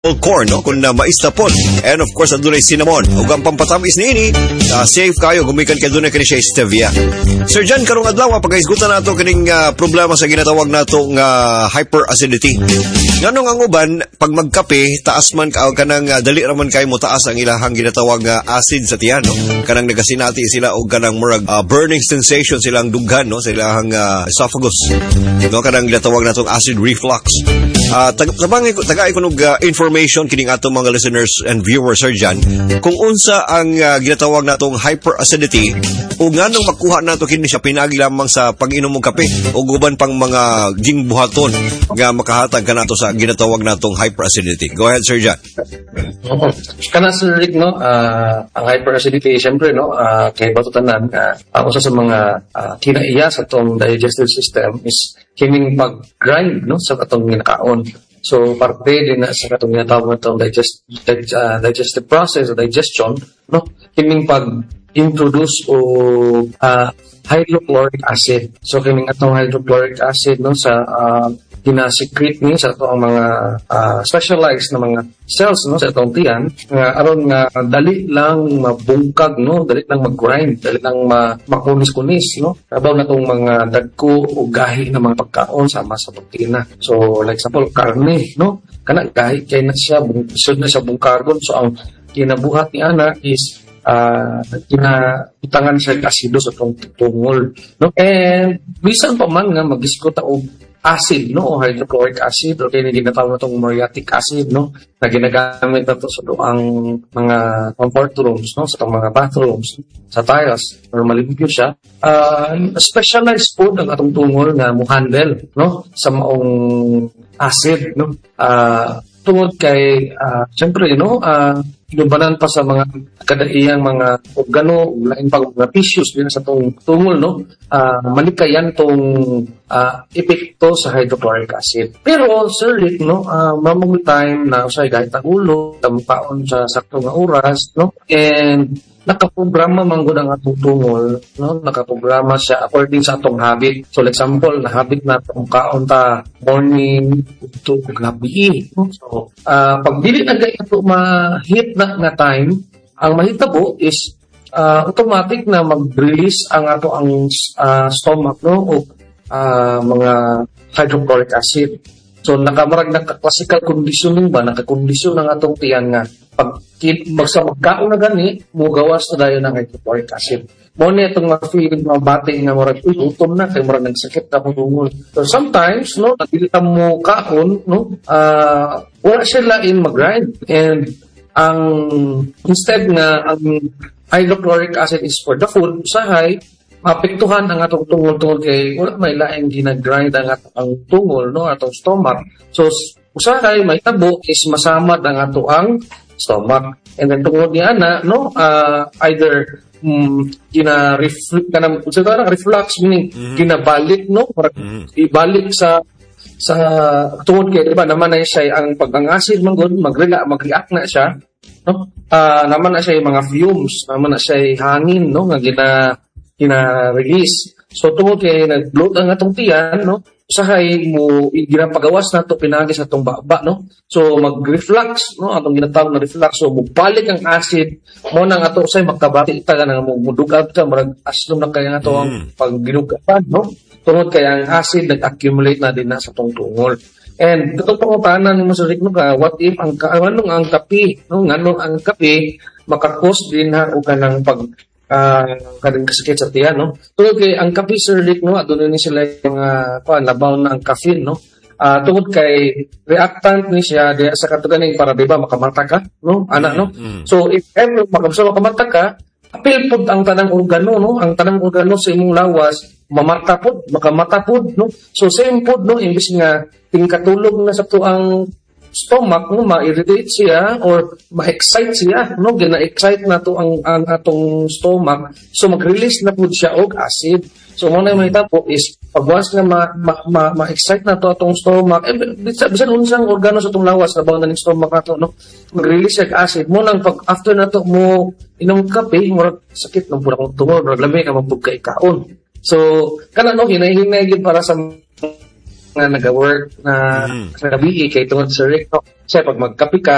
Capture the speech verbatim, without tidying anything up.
Corn, no, kung na mais na pod. And of course, adunay cinnamon. Ug ang pampatamis niini, uh, safe kayo gumikan kay adunay kini siya stevia. Sir John, karong adlaw pagahisgutan nato kining uh, problema sa ginatawag nato nga hyperacidity. Nganong ang uban pag magkape, taas man ka kanang uh, dali ra man kay mo taas ang ilahang ginatawag nga acid sa tiyan, no? Kanang nagasinati sila og kanang murag uh, burning sensation silang dughan, no, sa ilahang uh, esophagus. No, kanang ginatawag natong acid reflux. Uh, tag tabang tagai ko og uh, information kining atong mga listeners and viewers, Sir John, kung unsa ang uh, ginatawag natong hyperacidity ug nganong makuha nato kini siya pinaagi lamang sa pag-inom og kape ug uban pang mga gingbuhaton nga makahatag kanato sa ginatawag natong hyperacidity. Go ahead, Sir John. Oo. Kana, Sir Rick, no, uh, ang hyperacidity, siyempre, no, uh, kay bato tanan, uh, ang usa sa mga uh, kinaiya sa atong digestive system is kining pag-grind, no, sa atong ginakaon. So, parte din na sa katong ginatawag natong digest, dig, uh, digestive process o digestion, no, kining pag-introduce o uh, hydrochloric acid. So, kining atong hydrochloric acid, no, sa uh, ginasecrete ni sa atong mga uh, specialized na mga cells, no, sa atong tiyan nga aron nga dali lang mabungkag, no, dali lang mag-grind, dali lang ma makunis-kunis, no, labaw na tong mga dagko o gahi na mga pagkaon sama sa protina. So like example, karne, no, kana gahi kay na siya, sud na siya bungkagon. So ang kinabuhat ni ana is uh, kinabutangan siya asido sa atong tungol, no, and bisan pa man nga magisgot og acid, no, o hydrochloric acid o kini ginatawag natong muriatic acid, no, na ginagamit nato sa ang mga comfort rooms, no, sa atong mga bathrooms, sa tiles or malimpyo siya. Uh, specialized pod ang atong tungol nga mo handle, no, sa maong acid, no, uh, tungod kay uh, syempre, no, uh, inubanan pa sa mga kadaiyang mga organo, lain pa mga tissues din sa tong tungol, no, uh, malikayan tong uh, epekto sa hydrochloric acid. Pero Sir Rick, no, uh, mamong time na usay kahit ang ulo, tampaon sa sakto nga oras, no, and nakaprograma man gud ang atong tungol, no, nakaprograma siya according sa atong habit. So like example, na habit na atong kaon ta morning to gabi, no? So uh, pag dili na gay ato ma-hit na nga time, ang mahitabo is uh, automatic na mag-release ang ato ang uh, stomach, no, o uh, mga hydrochloric acid. So nakamarag naka-classical conditioning ba, nakakondisyon ang atong tiyan nga pag magsa magkaon na gani, mugawas na dayon ang hydrochloric acid. Mo ni itong ma-feeling, mabati nga murag, "Uy, gutom na kay murag nagsakit na akong tungol." So sometimes, no, dili ta mo kaon, no, uh, wala siya lain mag-grind and ang instead nga ang hydrochloric acid is for the food, usahay maapektuhan ang atong tungol tungod kay wala may laing ginagrind ang atong ang tungol, no, atong stomach. So usahay mahitabo is masamad ang ato ang stomach and then tungod ni ana, no, uh, either um, gina reflux kanang sa reflux, meaning mm-hmm. ginabalik, no, mm-hmm. ibalik sa sa tungod kay di ba naman na siya ang pag ang acid man gud magrela mag-react na siya, no, uh, naman na siya yung mga fumes, naman na siya hangin, no, nga gina gina-release. So tungod kay nag-bloat ang atong tiyan, no, usahay mo ginapagawas na to pinagi sa atong baba, no. So mag-reflux, no, atong ginatawag na reflux. So mubalik ang acid mo nang ato usay makabati ta nga mo mudugab ka, murag aslom na kay ato ang mm. pagginugapan, no. Tungod kay ang acid nag-accumulate na din na sa atong tungol. And katong pangutana nimo, Sir Rick, no, ka what if ang anong ang kape, no, nganong ang kape makakos din ha og kanang pag uh, kanang kasakit sa tiyan, no? Tungod kay ang kape, Sir Rick, no, aduna ni sila yung mga kuan labaw na ang caffeine, no? Uh, tungod kay reactant ni siya diya sa katuganing para di ba makamata ka, no? Ana, no? Mm-hmm. So if ever makamsa makamata ka, apil pod ang tanang organo, no? Ang tanang organo sa imong lawas mamata pod, makamata pod, no? So same pod, no, imbis nga tingkatulog na sa tuang stomach, no, ma-irritate siya or ma-excite siya, no, gina-excite na to ang, ang atong stomach, so mag-release na pud siya og acid. So mo na mahitabo is pag once nga ma, ma, ma, ma-excite na to atong stomach, eh, bisan, bisan unsang organo sa atong lawas labaw na ning stomach nato, no, mag-release siya og acid. Mo nang pag after na to mo inom kape, murag sakit ng pud akong tungol, murag lami ka mapug kay kaon. So kana, no, hinay-hinay gyud para sa nga naga-work na mm. sa gabi kay tungod sa Rick, no? Kasi pag magkape ka